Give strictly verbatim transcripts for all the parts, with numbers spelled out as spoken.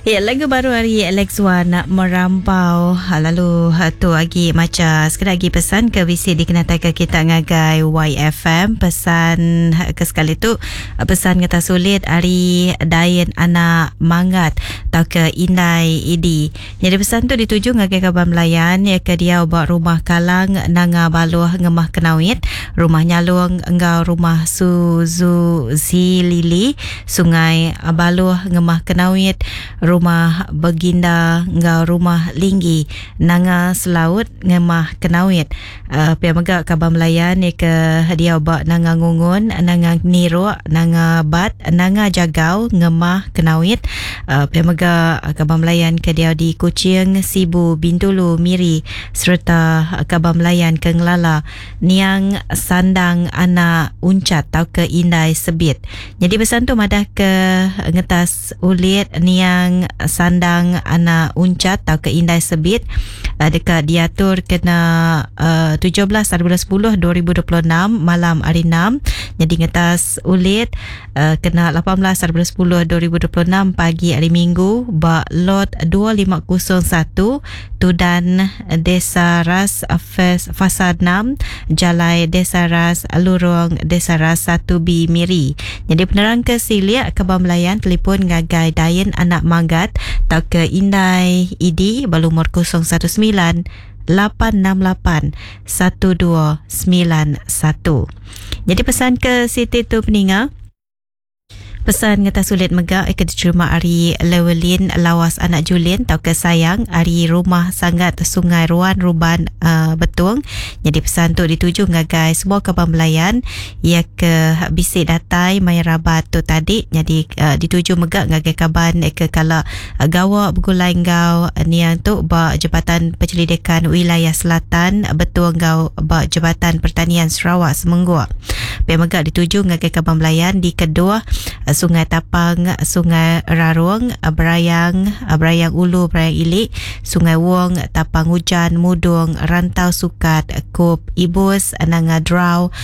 Ya, lagu baru ari Alex Wan Merampau. Lalu tu agi macha sekeda agi pesan ke bisi dikenatai ke kita ngagai Y F M. Pesan ke sekali tu pesan ngeta sulit ari Dain Anak Manggat tau ke Indai Idi. Jadi pesan tu dituju ngagai kaban belayan ya ke dia ba rumah Kalang Nanga Baluh Ngemah Kenawit, rumah Nyalung enggau rumah Suzu Zilili Sungai Baluh Ngemah Kenawit, rumah Beginda enggau rumah Linggi Nanga Selaut Ngemah Kenawit. Uh, pia mega kaban belayan ya ke dia ba Nanga Ngungun, Nanga Niruk, Nanga Bat, Nanga Jagau Ngemah Kenawit. Uh, pia mega kaban belayan ke dia di Kuching, Sibu, Bintulu, Miri serta kaban belayan ke Ngelala Niang Sandang Anak Uncat tau ke Indai Sebit. Jadi pesan tu madah ke ngetas ulit Niang Sandang Anak Uncat tau ke Indai Sebit uh, dekat diatur kena uh, tujuh belas hari bulan sepuluh dua ribu dua puluh enam malam hari enam. Jadi ngetas ulit uh, kena lapan belas hari bulan sepuluh dua ribu dua puluh enam pagi hari Minggu ba lot dua lima kosong satu Tudan Desa Ras Fasa enam Jalai Desa Ras Lurung Desa Ras satu B Miri. Jadi penerang ke Siliak Kebang Melayan telefon ngagai Dain Anak Manggat tau ke Indai Idi berlumur kosong satu sembilan lapan enam lapan satu dua sembilan satu. Jadi pesan ke Siti tu peninga. Pesan ngeta sulit mega ikat diterima ari Lewelin Lawas Anak Julin tau ke Sayang ari Rumah Sangat Sungai Ruan Ruban uh, Betung. Jadi pesan tu dituju ngagai semua kaban belayan ia ke bisi datai maya rabat tu tadi. Jadi uh, dituju mega ngagai kaban ke kala uh, gawa begulai enggau niang tu ba Jabatan Penyelidikan Wilayah Selatan Betung enggau ba Jabatan Pertanian Sarawak Semengguk. Pia mega dituju ngagai kaban belayan di kedua Sungai Tapang, Sungai Rarung, Berayang, Berayang Ulu, Berayang Ilik, Sungai Wong, Tapang Hujan, Mudung, Rantau Sukat, Kup, Ibus, Nanga Drau,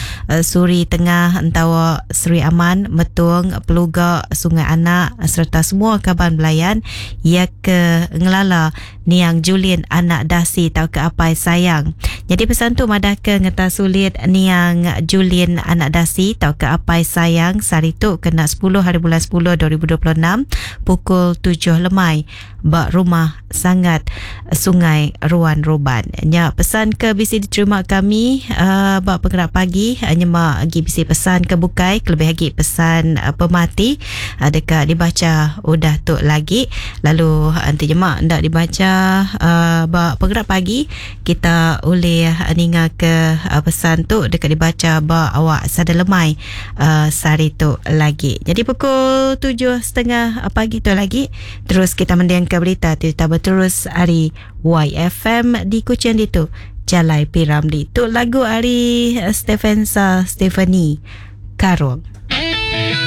Suri Tengah, Entawa, Seri Aman, Metung, Peluga, Sungai Anak serta semua kaban belayan ia ke Ngelala Niang Julin Anak Dasi tau ke Apai Sayang. Jadi pesan tu madah ke ngeta sulit Niang Julin Anak Dasi tau ke Apai Sayang sehari tu kena sepuluh hari bulan sepuluh dua ribu dua puluh enam pukul tujuh lemai ba rumah Sangat Sungai Ruan Ruban. Nya pesan ke bisi diterima kami uh, ba penggerak pagi uh, nyema agi bisi pesan ke bukai kelebih lagi pesan uh, pemati uh, dekat dibaca udah tu lagi. Lalu nanti jema ndak dibaca uh, ba penggerak pagi kita boleh ninga ke uh, pesan tu dekat dibaca ba awak sada lemai uh, sehari tu lagi. Jadi pukul tujuh setengah pagi tu lagi terus kita mendengar berita cerita berterus hari Y F M di Kuching itu Jalai Piramli. Tu lagu hari Stephensa Stephanie Karung.